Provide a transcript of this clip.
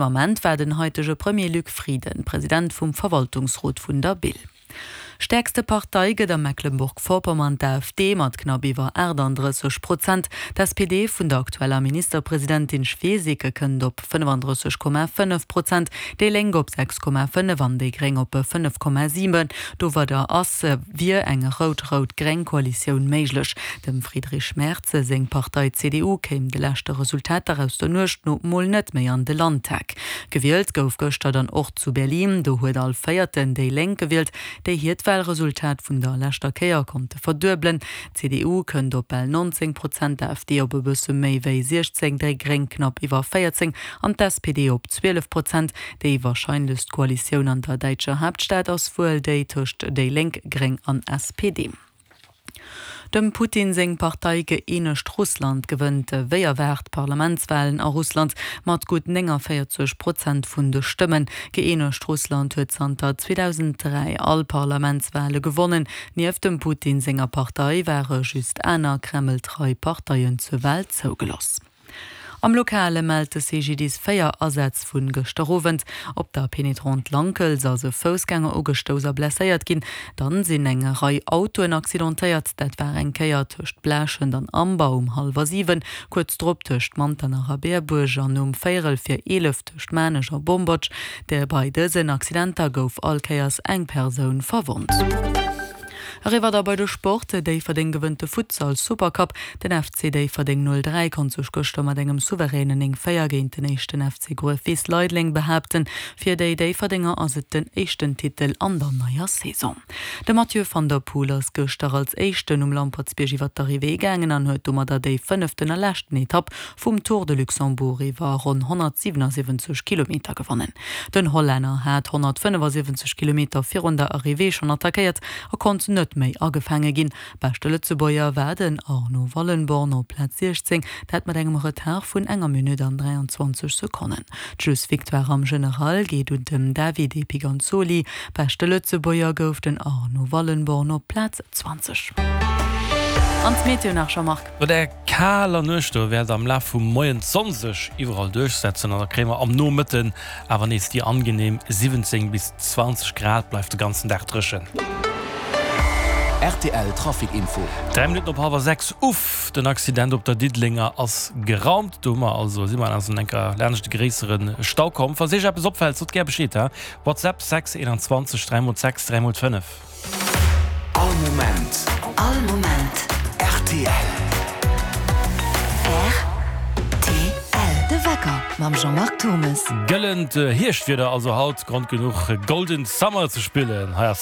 Ament war den haitege Premier Luc Frieden President vum Verwaltungsrot vun der BIL. Stäerkste Partei gëtt a Mecklenburg-Vorpommern d'AfD mat knapp iwwer 38 Prozent. D'SPD vun der aktueller Ministerpresidentin Schwesig kënnt op 35,5 Prozent, déi Lénk op 6,5 an déi Gréng op 5,7. Domadder ass wier eng rout-rout-gréng Koalitioun méiglech. Dem Friedrich Merz seng Partei CDU kéim de leschte Resultater aus der Nuecht no mol net méi an de Landtag. Gewielt gouf gëschter dann och zu Berlin. Do huet all Véierten déi Lénk gewielt, déi hiert Walresultat vun der leschter Kéier konnte verduebelen. D'CDU kënnt op bal 19 Prozent, d'AfD op e bësse méi wéi 16, déi Gréng knapp iwwer 14 an d'SPD op 12 Prozent. Déi warscheinlechst Koalitioun an der däitscher Haaptstad ass wuel déi tëscht déi Lénk, Gréng an SPD. Dem Putin seng Partei Gëeenegt Russland gewënnt wéi erwaart d'Parlamentswalen a Russland mat gutt 49 Prozent vun de Stëmmen. Gëeenegt Russland huet zanter 2003 all Parlamentswale gewonnen. Nieft dem Putin senger Partei ware just aner kremltrei Parteien zur Wal zougelooss. Am Lokale mellt de CGDIS 4 Asätz vu gëschter Owend. Op der Pénétrante Lankels ass e Foussgänger ugestouss a blesséiert ginn. Dann sinn eng Rei Autoen accidentéiert. Dat war eng Kéier tëscht Blaaschent an Amber um hallwer 7, kuerz drop tëscht Manternach a Berbuerg an um véierel vir 11 tëscht Maarnech a Bombotsch. Bei dësen Accidenter gouf all Kéiers eng Persoun verwonnt. Eriwwer da bei de Sport, Déifferdeng gewënnt de Futsal Supercup. Den FC Déifferdeng 03 konnt sech gëschter mat engem souveränen 9, 4 géint den éischten FC Gruefwiss Leideleng behaapten. Fir déi Déifferdenger ass et den éischten Titel an der neier Saison. De Mathieu van der Poel ass gëschter als éischten um Lampertsbierg iwwer d'Arrivée gaangen an huet domadder déi fënneften a leschten Etapp vum Tour de Luxembourg iwwer ronn 177 Kilometer gewonnen. Den Hollänner hat 175 Kilometer virun der Arrivée schonn attackéiert a konnt net méi agefaange ginn. Beschte Lëtzebuerger war den Arno Wallenborn op Plaz 16, dat mat engem Retard vun enger Minutt an 23 Sekonnen. D'Schlussvictoire am General geet un dem Davide Piganzoli. Beschte Lëtzebuerger gouf den Arno Wallenborn op Plaz 20. An d'Meteo nach, Jean-Marc. No der kaler Nuecht do wäert am Laf vum Moien d'Sonn sech iwwerall duerchsetzen an da kréie mer am Nomëtten awer nees déi angenehm 17 bis 20 Grad. Bleift de ganzen Dag dréchen. Rtl Trafic Info. 3 Minutten op hallwer 6, Uff, den Accident op der Diddelenger ass geraumt. Do hu mer also, si mer also enker laanscht e gréissere Stau komm. Falls Iech eppes opfält, sot gär Bescheed, ha? WhatsApp 6 21 3 mol 6 3 mol 5. All Moment. All Moment. Rtl. Rtl. De Wecker mam Jean-Marc Turmes. Gëllent Hierschtwieder also haut, Grond genuch Golden Summer ze spillen. Hei ass.